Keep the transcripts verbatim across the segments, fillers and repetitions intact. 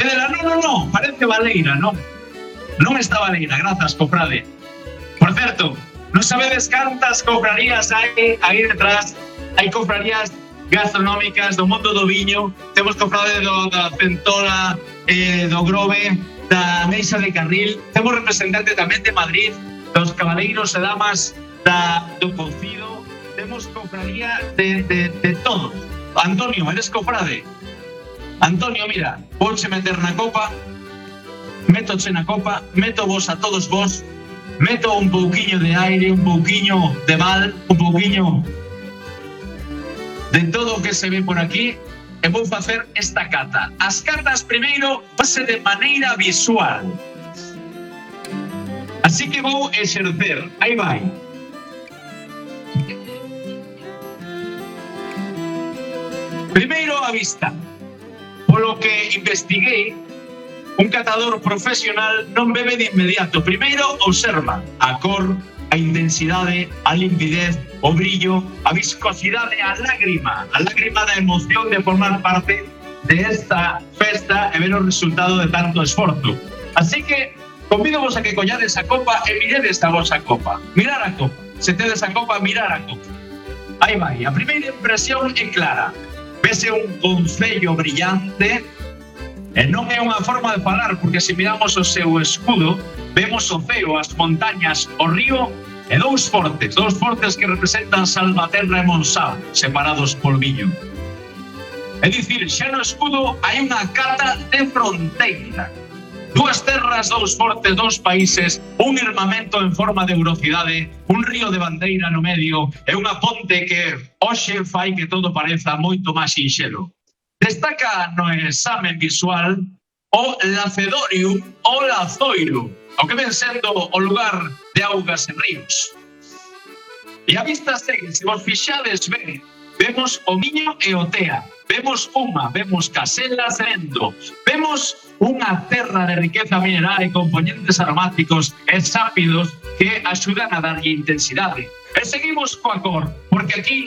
Pedela, no, no, no, parece baleira, non? Non está baleira, grazas, cofrade. Por certo, non sabedes cantas cofrarías hai aí detrás? Hai cofrarías gastronómicas do mundo do viño. Temos cofrade do, da Centola, eh, do Grove, da Meixa de Carril. Temos representante tamén de Madrid, dos cabaleiros e damas da, do Cocido. Temos cofradía de, de, de todo. Antonio, eres cofrade? Antonio, mira, vouche meter na copa, metoche na copa, meto vos a todos vos, meto un pouquiño de aire, un pouquiño de mal, un pouquiño de todo o que se ve por aquí, e vou facer esta cata. As catas primeiro pase de maneira visual. Así que vou exercer. Aí vai. Primeiro a vista. Polo que investiguei, un catador profesional non bebe de inmediato. Primeiro observa a cor, a intensidade, a limpidez, o brillo, a viscosidade, a lágrima, a lágrima da emoción de formar parte de esta festa e ver o resultado de tanto esforzo. Así que convídovos a que collades a copa e miredes a vosa copa. Mirar a copa. Se tedes a copa, mirar a copa. Aí vai. A primeira impresión é clara. Vese un concello brillante e non é unha forma de falar, porque se miramos o seu escudo, vemos o ceo, as montañas, o río e dous fortes, dous fortes que representan Salvaterra e Monsáu, separados por viño. É dicir, xa no escudo hai unha cata de fronteira. Dúas terras, dous fortes, dous países, un armamento en forma de eurocidade, un río de bandeira no medio e unha ponte que hoxe fai que todo pareza moito máis sinxelo. Destaca no examen visual o Lacedorium ou Lazoiro, o que ven sendo o lugar de augas e ríos. E a vista segue, se vos fixades ben, vemos o Miño e o Tea, vemos Uma, vemos Caselas e Endo, vemos unha terra de riqueza mineral e componentes aromáticos e sápidos que axudan a darlle intensidade. E seguimos coa cor, porque aquí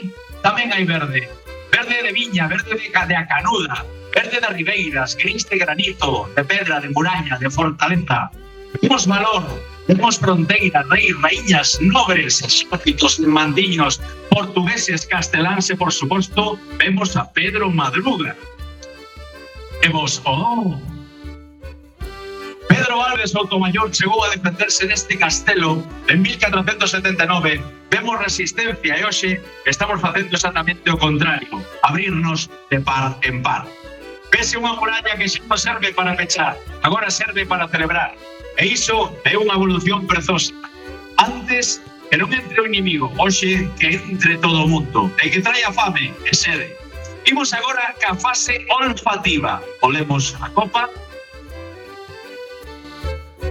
tamén hai verde. Verde de viña, verde de, de acanuda, verde de ribeiras, gris de granito, de pedra, de muraña, de fortaleza. Vemos valor, vemos fronteira, reis, raíñas, nobres, exércitos, mandiños, portugueses, casteláns e, por suposto, vemos a Pedro Madruga. E vos, oh... Pedro Álvarez Soutomayor chegou a defenderse neste castelo en mil catrocentos setenta e nove. Vemos resistencia e hoxe estamos facendo exactamente o contrario, abrirnos de par en par. Vese unha muralla que xa non serve para pechar, agora serve para celebrar. E iso é unha evolución prezosa. Antes que non entre o inimigo, hoxe que entre todo o mundo, e que traia fame e sede. Imos agora ca fase olfativa. Olemos a copa,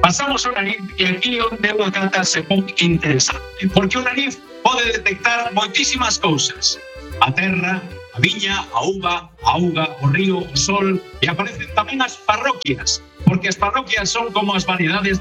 pasamos o nariz e aquí onde unha cata se pon interesante, porque o nariz pode detectar moitísimas cousas. A terra, a viña, a uva, a auga, o río, o sol, e aparecen tamén as parroquias, porque as parroquias son como as variedades